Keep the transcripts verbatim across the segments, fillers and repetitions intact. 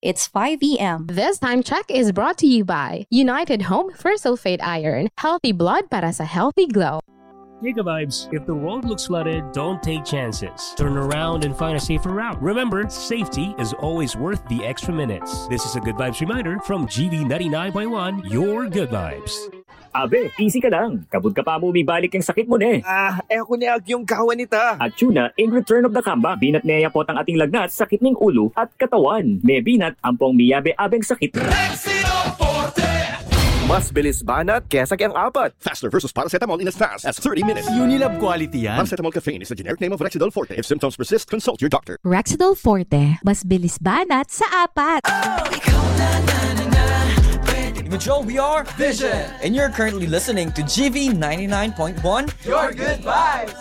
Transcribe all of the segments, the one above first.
It's five a.m. This time check is brought to you by United Home Fersulfate Iron. Healthy blood para sa healthy glow. Giga Vibes, if the road looks flooded, don't take chances. Turn around and find a safer route. Remember, safety is always worth the extra minutes. This is a Good Vibes reminder from G V ninety-nine point one, your Good Vibes. Abe, easy ka lang. Kabud ka pa mu mibalik ing sakit mu ne. Ah, e ku ne agyung gawan ita. At yun na, in return of the comeback, binat ne ya potang ating lagnat, sakit ning ulu at katawan. Mebinat, ampong miyabe-abeng sakit. Mas bilis banat kesa keng apat. Faster versus paracetamol in as fast as thirty minutes. Unilab quality yan. Paracetamol caffeine is the generic name of Rexidol Forte. If symptoms persist, consult your doctor. Rexidol Forte, mas bilis banat sa apat. Immature, we are Vision. And you're currently listening to G V ninety-nine point one. Your good vibes.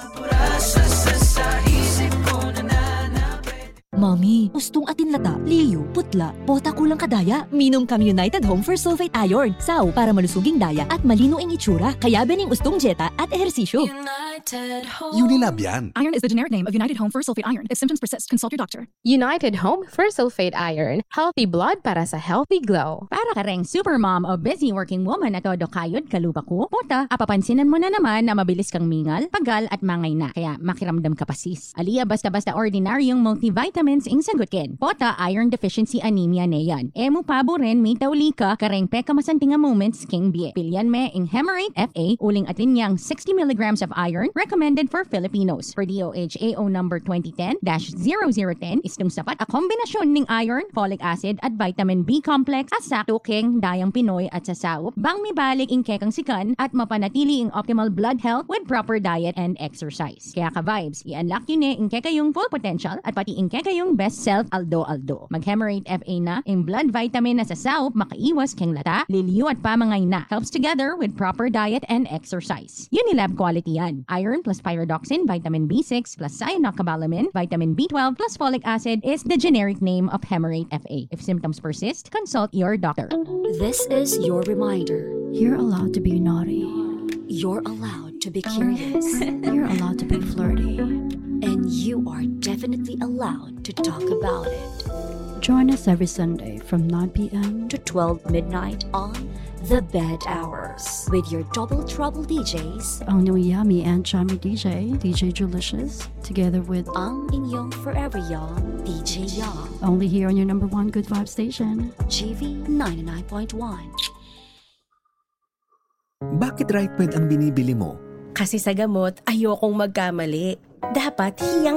Mommy, ustung atin lata, liyu, putla, pota kulang ka daya. Minum kang United Home Fersulfate Iron. Sau para malusug ing daya at malino ing itsura. Kayabe ning ustung dyeta at ehersisyo. United Home. Unilab yan. Iron is the generic name of United Home Fersulfate Iron. If symptoms persist, consult your doctor. United Home Fersulfate Iron. Healthy blood para sa healthy glow. Para kareng supermom o busy working woman a todo kayod kalupa ku, pota, apapansinan mu na naman a mabilis kang mingal, pagal at mangaina. Kaya makiramdam ka pa, sis. Ali a basta-basta ordinaryung multivitamins ing sagut ken. Pota, iron deficiency anemia ne yan. E mu paburen mitauli ka kareng pekamasanting a moments king bie. Pilian me ing Hemarate F A, uling atin yang sixty milligrams of iron, recommended for Filipinos, per D O H A O number twenty ten dash zero zero ten, istung sapat a kombinasyun ning iron, folic acid, at vitamin B complex a sakto keng dayang Pinoy at sasaup, bang mibalik ing kekang sikan at mapanatili ing optimal blood health with proper diet and exercise. Kaya ka-vibes, i-unlock yu ne ing kekayung full potential at pati ing kekayung best self aldo-aldo. Mag-Hemarate F A na, ing blood vitamin a sasaup makaiwas keng lata, liliyu at pamangaina. Helps together with proper diet and exercise. Unilab quality yan. Iron plus pyridoxine, vitamin B six plus cyanocobalamin, vitamin B twelve plus folic acid is the generic name of Hemarate F A. If symptoms persist, consult your doctor. This is your reminder. You're allowed to be naughty. You're allowed to be curious. You're allowed to be flirty. And you are definitely allowed to talk about it. Join us every Sunday from nine p.m. to twelve midnight on The Bed Hours with your Double Trouble D Js, ang new yummy and chummy D J, D J Julicious, together with ang inyong forever young D J Young. Only here on your number one good vibe station, G V ninety-nine point one. Bakit Right Med ang binibili mo? Kasi sa gamot, ayokong magkamali. Dapat hiyang